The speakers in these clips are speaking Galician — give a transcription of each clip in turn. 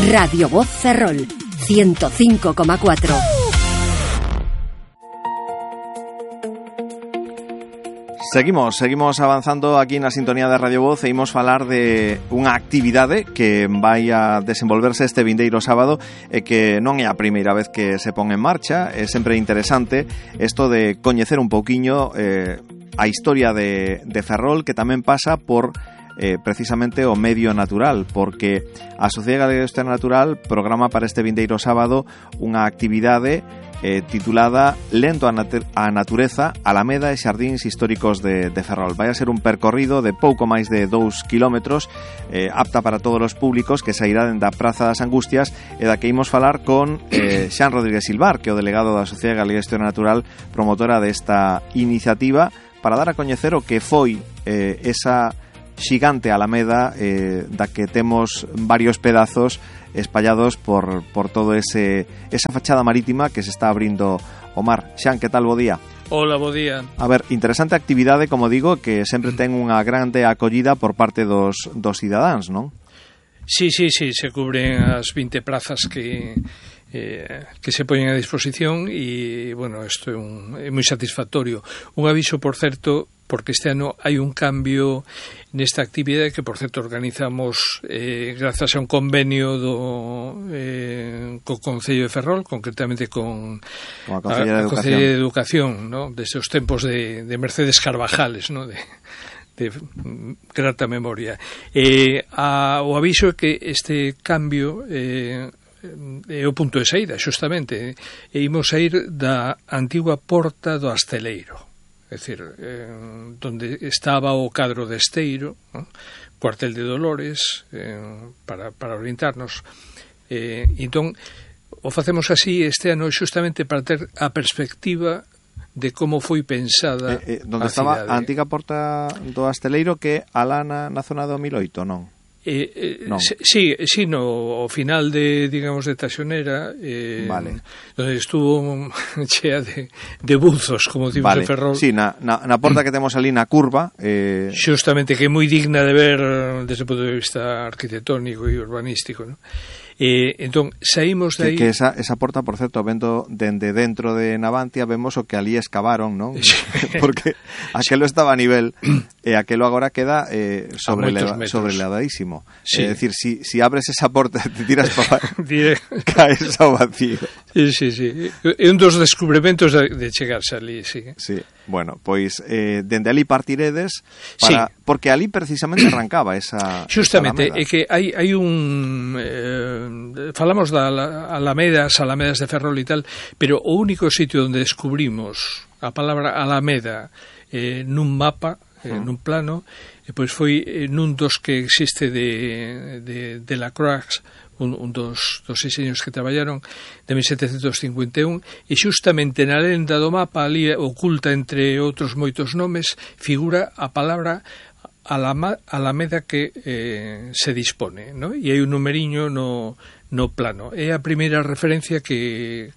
Radio Voz Ferrol, 105,4. Seguimos avanzando aquí na sintonía de Radio Voz e imos falar de unha actividade que vai a desenvolverse este vindeiro sábado e que non é a primeira vez que se pon en marcha. É sempre interesante isto de coñecer un pouquiño a historia de Ferrol, que tamén pasa por precisamente o medio natural, porque a Sociedade Galega de Historia Natural programa para este vindeiro sábado unha actividade titulada Lento a Natureza, Alameda e Xardíns Históricos de Ferrol. Vai a ser un percorrido de pouco máis de 2 kilómetros, apta para todos os públicos, que sairá dende a Praza das Angustias, e da que imos falar con Xan Rodríguez Silvar, que é o delegado da Sociedade Galega de Historia Natural, promotora desta iniciativa, para dar a coñecer o que foi esa xigante alameda da que temos varios pedazos espallados por todo esa fachada marítima que se está abrindo o mar. Xan, que tal, bo día? Hola, bo día. A ver, interesante actividade, como digo, que sempre ten unha grande acollida por parte dos cidadáns, non? Sí, se cubren as 20 plazas que se poñen a disposición e, bueno, isto é moi satisfactorio. Un aviso, por certo, porque este ano hai un cambio nesta actividade que, por certo, organizamos grazas a un convenio co Concello de Ferrol, concretamente con a Concello de Educación, ¿no? Desde os tempos de Mercedes Carvajales, ¿no? de grata memoria. O aviso é que este cambio é o punto de saída, xustamente, e imos a ir da antigua porta do Asteleiro, é dicir, donde estaba o cadro de Esteiro, ¿no? Cuartel de Dolores, para orientarnos. Entón, o facemos así este ano xustamente para ter a perspectiva de como foi pensada donde estaba a antiga porta do Asteleiro, que alá na zona do 1008, non? Sí, no final de, digamos, de Taxonera, vale, donde estuvo chea de buzos, como decimos, vale, en Ferrol. Sí, na porta que temos ali na curva, xustamente, que é moi digna de ver desde o punto de vista arquitectónico e urbanístico, ¿no? Entón, saímos de aí... Que esa porta, por certo, vendo dende dentro de Navantia, vemos o que ali excavaron, non? Sí. Porque aquelo estaba a nivel e aquelo agora queda sobrelevadísimo. Sí. É dicir, si abres esa porta e te tiras para caes ao vacío. Sí. É un dos descubrimentos de chegarse ali, sí. Sí. Bueno, pois dende ali partiredes para, sí, porque ali precisamente arrancaba esa xustamente, esa é que hai un falamos da Alameda, as Alamedas de Ferrol e tal, pero o único sitio onde descubrimos a palabra Alameda nun mapa, nun plano, pois foi nun dos que existe de Lacroix, un dos diseños que traballaron, de 1751, e xustamente na lenda do mapa, ali oculta entre outros moitos nomes, figura a palabra Alameda que se dispone, ¿no? E hai un numeriño no plano. É a primeira referencia que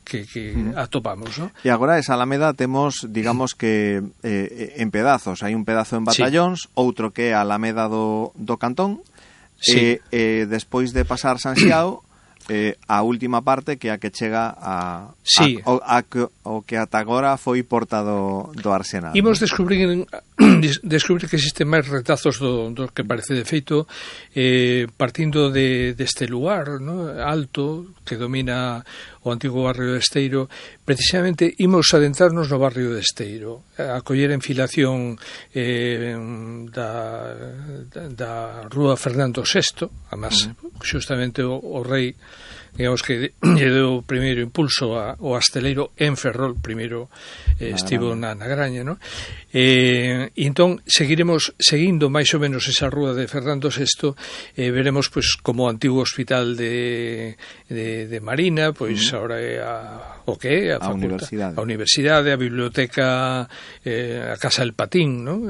atopamos, ¿no? E agora esa Alameda temos, digamos que en pedazos. Hai un pedazo en Batallóns, sí, outro que é a Alameda do Cantón, sí, despois de pasar San Xiao, a última parte que a que chega sí, o que ata agora foi porta do Arsenal. Imos descubrir que existen máis retazos do que parece. De feito, partindo deste lugar, ¿no?, alto, que domina o antigo barrio de Esteiro, precisamente imos adentrarnos no barrio de Esteiro, a coller a enfilación da Rúa Fernando VI, además, xustamente o rei, digamos que lle deu o primeiro impulso ao Asteleiro en Ferrol, primeiro estivo na Graña, ¿no? E entón seguiremos seguindo máis ou menos esa rúa de Fernando VI, veremos pois como o antigo hospital de Marina, pois agora é a universidade, a biblioteca, a Casa del Patín, ¿no?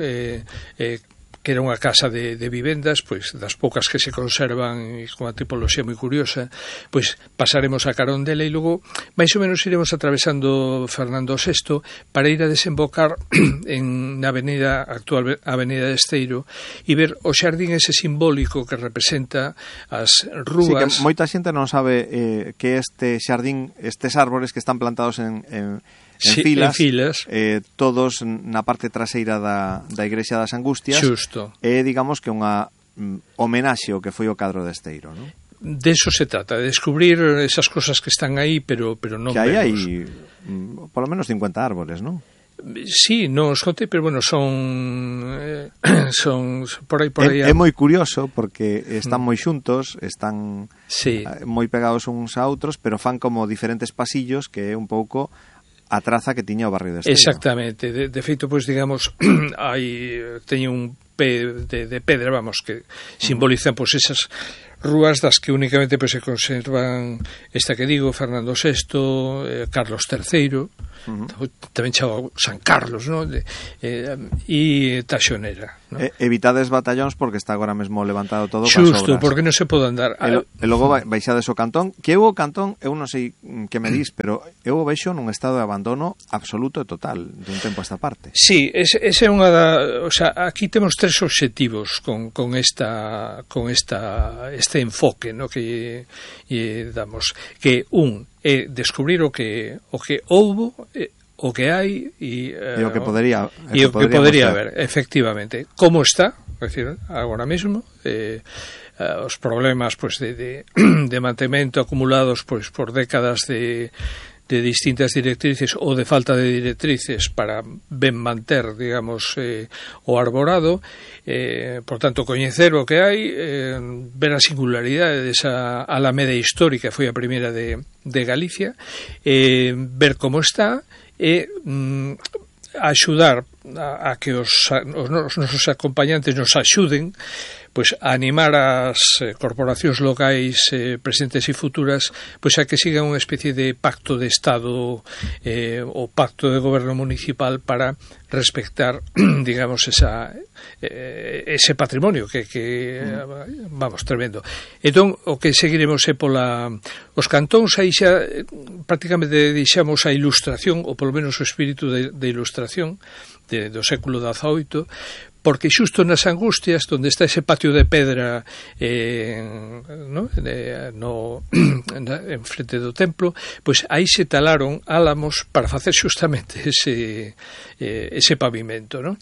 que era unha casa de vivendas, pois das poucas que se conservan e con a tipoloxía moi curiosa, pois pasaremos a carón dela e logo máis ou menos iremos atravesando Fernando VI para ir a desembocar na avenida actual, Avenida de Esteiro, e ver o xardín ese simbólico que representa as rúas. Sí, que moita xente non sabe que este xardín, estes árbores que están plantados en filas, todos na parte traseira da Igrexa das Angustias. Xusto. Digamos que unha homenaxe ao que foi o cadro de Esteiro, non? De eso se trata, de descubrir esas cosas que están aí, pero non que vemos. Hai por lo menos 50 árboles, non? Sí, non os conté, pero bueno, son por aí. É moi curioso porque están moi xuntos, están moi pegados uns a outros, pero fan como diferentes pasillos, que é un pouco a traza que tiña o barrio de Esteiro. Exactamente, de feito, pois digamos, teño un pé de pedra, vamos, que simbolizan pois esas rúas das que únicamente pois se conservan esta que digo, Fernando VI, Carlos III, tamén chamado San Carlos, ¿no? E Taxonera, ¿no? Evitades batallóns porque está agora mesmo levantado todo Xusto, obras. porque non se pode andar. E logo baixades o Cantón, que o Cantón, eu non sei que me dis, pero eu o vexo nun estado de abandono absoluto e total dun tempo a esta parte. Sí, ese é unha o sea, aquí temos tres obxectivos con este enfoque, ¿no? que damos, que é descubrir o que houbo, o que hai e o que podería haber, efectivamente. Como está, é dicir, agora mesmo, os problemas pois de mantemento acumulados pois por décadas de distintas directrices ou de falta de directrices para ben manter, digamos, o arborado, por tanto, coñecer o que hai, ver a singularidade desa alameda histórica, foi a primeira de Galicia, ver como está e axudar a que os nosos acompañantes nos axuden pois a animar as corporacións locais presentes e futuras pois a que sigan unha especie de pacto de Estado ou pacto de goberno municipal para respectar, digamos, ese patrimonio que vamos, tremendo. Entón, o que seguiremos é os cantóns, aí xa prácticamente deixamos a ilustración, ou polo menos o espírito de ilustración do século XVIII, porque xusto nas Angustias, onde está ese patio de pedra en frente do templo, pois aí se talaron álamos para facer xustamente ese pavimento, ¿no?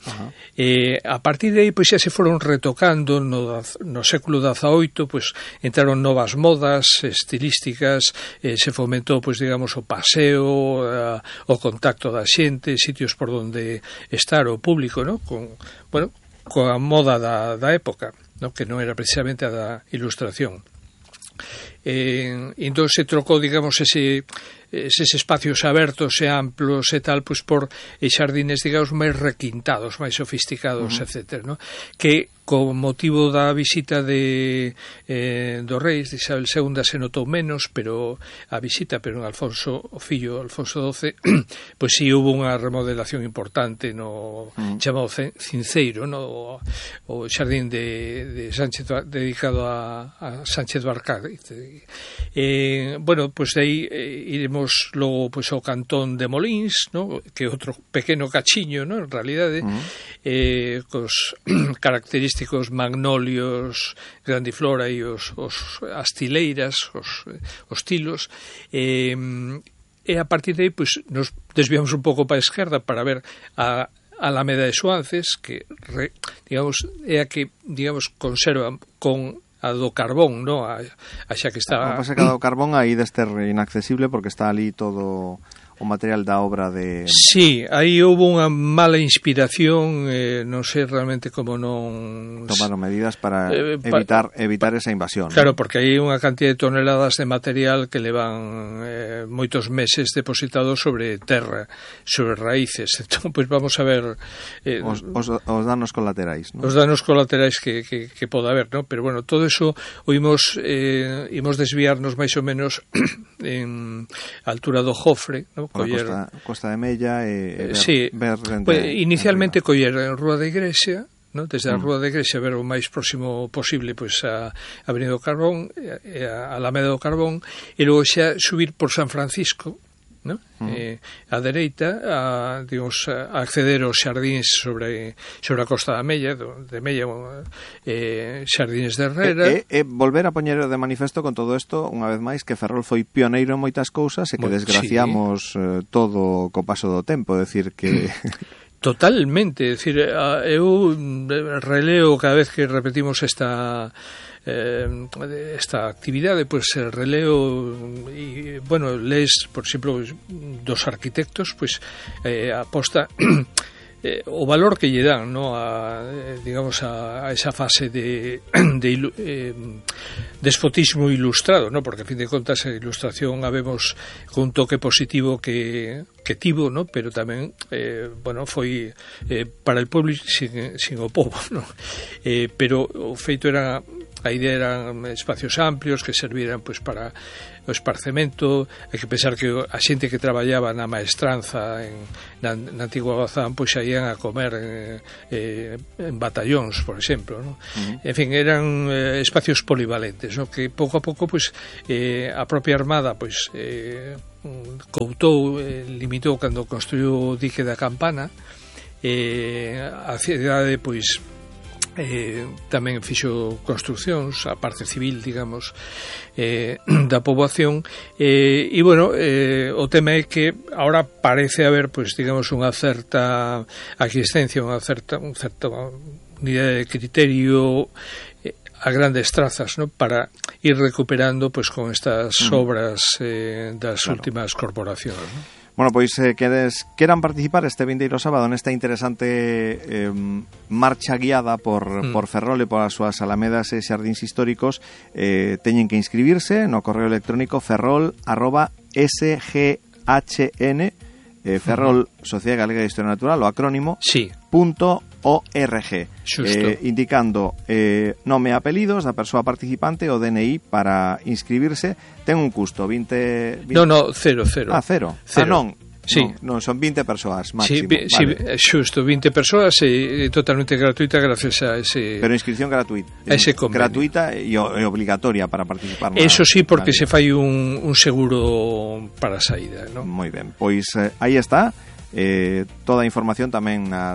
A partir de aí pois xa se foron retocando no século XVIII, pois entraron novas modas estilísticas, se fomentou, pois digamos, o paseo, o contacto da xente, sitios por onde estar o público, ¿no? Coa moda da época, ¿no? Que non era precisamente a da ilustración. Entón se trocou, digamos, eses espacios abertos e amplos e tal, pois por xardines, digamos, máis requintados, máis sofisticados, etcétera, ¿no? Que con motivo da visita dos reis de Isabel II se notou menos, pero a visita, pero en Alfonso, o fillo Alfonso XII, pois si hubo unha remodelación importante no chamado Cinceiro, no o xardín de Sánchez, dedicado a Sánchez Barcárez. Bueno, pois aí iremos logo pois ao cantón de Molins, ¿no? Que é outro pequeno cachiño, ¿no? En realidade, cos característicos magnolios, grandiflora e as tileiras, os tilos, e a partir de aí pois, nos desviamos un pouco para a esquerda para ver a Alameda de Suances, que digamos é a que digamos conserva con a do carbón, ¿no? A xa que está... O que pasa que a do carbón aí deste inaccesible porque está ali todo o material da obra de... Sí, aí houve unha mala inspiración, non sei realmente como non... Tomaron medidas para evitar esa invasión. Claro, ¿no? porque hai unha cantidad de toneladas de material que levan moitos meses depositados sobre terra, sobre raíces. Entón, pois vamos a ver... os danos colaterais, ¿no? Os danos colaterais que pode haber, ¿no? Pero bueno, todo eso imos desviarnos máis ou menos en altura do Jofre, ¿no? Costa de Mella e ver pues, inicialmente coller en Rúa da Igrexa, ¿no? Desde a Rúa da Igrexa ver o máis próximo posible pois a Avenida do Carbón, a Alameda do Carbón, e logo xa subir por San Francisco, ¿no? A dereita, digamos, a acceder aos xardíns sobre a Costa da Mella, de Mella, xardíns de Herrera. Volver a poñer de manifesto con todo isto, unha vez máis, que Ferrol foi pioneiro en moitas cousas e que desgraciamos todo co paso do tempo, decir que... Totalmente, é dicir, eu releo cada vez que repetimos esta actividade, pois releo e, bueno, lees, por exemplo, dos arquitectos, pois aposta o valor que lle dan, ¿no? Digamos a esa fase de despotismo ilustrado, ¿no? Porque a fin de contas a ilustración a vemos con un toque positivo que tivo, ¿no? Pero tamén bueno, foi para el pueblo sin o povo, ¿no? Pero o feito era, a idea eran espacios amplios que serviran pois para o esparcemento. Hai que pensar que a xente que traballaba na maestranza na antigua Gozán pois saían a comer en batallóns, por exemplo, ¿no? En fin, eran espacios polivalentes, ¿no? Que pouco a pouco pois a propia Armada pois coutou, limitou cando construiu o dique da Campana. A cidade pois tamén fixo construcións, a parte civil, digamos, da poboación, e bueno, o tema é que ahora parece haber, pois, digamos, unha certa aquiescencia, unha certa unidade de criterio a grandes trazas, ¿no? Para ir recuperando, pois, con estas obras das últimas corporacións, ¿no? Bueno, pois queran participar este vindeiro sábado nesta interesante marcha guiada por Ferrol e polas súas alamedas e xardíns históricos, teñen que inscribirse no correo electrónico ferrol@sghn, Ferrol, Sociedade Galega de Historia Natural, o acrónimo, sí. .org, indicando nome e apelidos da persoa participante, o DNI para inscribirse. Ten un custo, 20... No, cero. Cero. Non. Sí. Non, son 20 persoas máximo. Sí, xusto, 20 persoas e totalmente gratuita gracias a ese... Pero inscripción gratuita. Ese convenio. Gratuita e obligatoria para participar. Eso sí, porque se fai un seguro para a saída, ¿no? Moi ben, pois aí está. Toda a información tamén na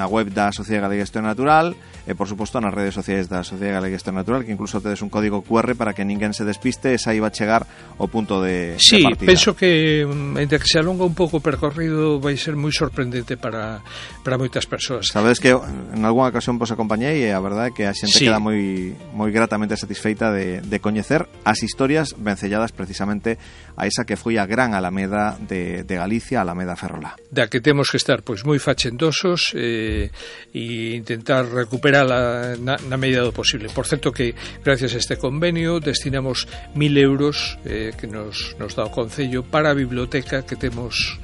web da Sociedade Galega de Historia Natural e, por suposto, nas redes sociais da Sociedade Galega de Historia Natural, que incluso tedes un código QR para que ninguén se despiste e saiba chegar ao punto de partida. Sí, penso que entre que se alonga un pouco o percorrido vai ser moi sorprendente para moitas persoas. Sabedes que en algunha ocasión vos acompañei e a verdade é que a xente queda moi gratamente satisfeita de coñecer as historias vencelladas precisamente a esa que foi a gran Alameda de Galicia, a Alameda Ferrolá. Da que temos que estar pois moi fachendosos e intentar recuperala na medida do posible. Por certo que gracias a este convenio destinamos 1.000 euros que nos dá o Concello para a biblioteca que temos.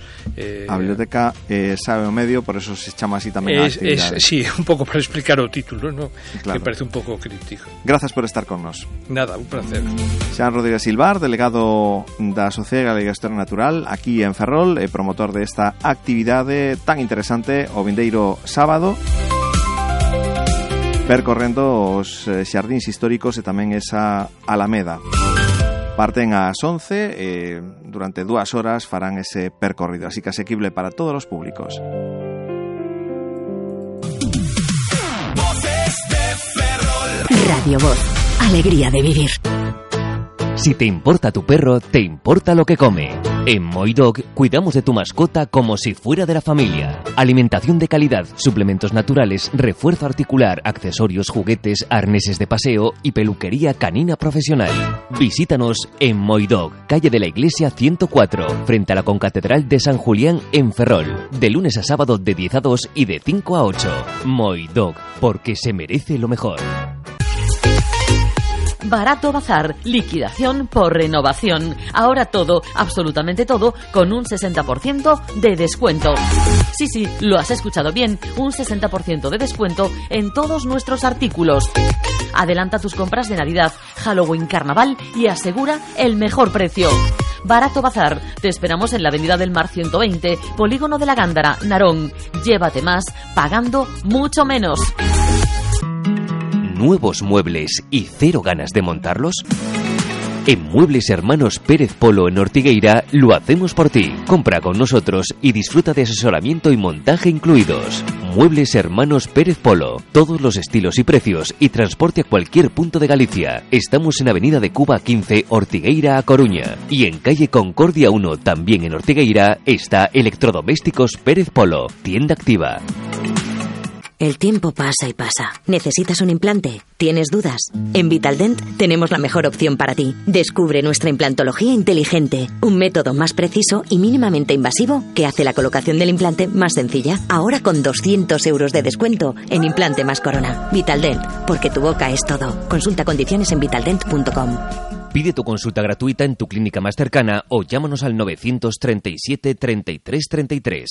A biblioteca sabe o medio, por eso se chama así tamén a actividade. Sí, un pouco para explicar o título, ¿no? Claro. Que parece un pouco crítico. Gracias por estar con nos. Nada, un placer. Xan Rodríguez Silvar, delegado da Sociedade Galega de Historia Natural aquí en Ferrol e promotor desta actividade tan interesante o vindeiro sábado, percorrendo os xardíns históricos e tamén esa Alameda. Parten ás 11 e durante 2 horas farán ese percorrido, así que asequible para todos os públicos. Radio Voz, alegría de vivir. Si te importa tu perro, te importa lo que come. En Moidog cuidamos de tu mascota como si fuera de la familia. Alimentación de calidad, suplementos naturales, refuerzo articular, accesorios, juguetes, arneses de paseo y peluquería canina profesional. Visítanos en Moidog, calle de la Iglesia 104, frente a la Concatedral de San Julián en Ferrol. De lunes a sábado de 10 a 2 y de 5 a 8. Moidog, porque se merece lo mejor. Barato Bazar, liquidación por renovación. Ahora todo, absolutamente todo, con un 60% de descuento. Sí, lo has escuchado bien, un 60% de descuento en todos nuestros artículos. Adelanta tus compras de Navidad, Halloween, Carnaval y asegura el mejor precio. Barato Bazar, te esperamos en la Avenida del Mar 120, Polígono de la Gándara, Narón. Llévate más, pagando mucho menos. ¿Nuevos muebles y cero ganas de montarlos? En Muebles Hermanos Pérez Polo en Ortigueira lo hacemos por ti. Compra con nosotros y disfruta de asesoramiento y montaje incluidos. Muebles Hermanos Pérez Polo. Todos los estilos y precios y transporte a cualquier punto de Galicia. Estamos en Avenida de Cuba 15, Ortigueira a Coruña. Y en calle Concordia 1, también en Ortigueira, está Electrodomésticos Pérez Polo. Tienda activa. El tiempo pasa y pasa. ¿Necesitas un implante? ¿Tienes dudas? En Vitaldent tenemos la mejor opción para ti. Descubre nuestra implantología inteligente, un método más preciso y mínimamente invasivo que hace la colocación del implante más sencilla. Ahora con 200 euros de descuento en implante más corona. Vitaldent, porque tu boca es todo. Consulta condiciones en vitaldent.com. Pide tu consulta gratuita en tu clínica más cercana o llámanos al 937 33 33.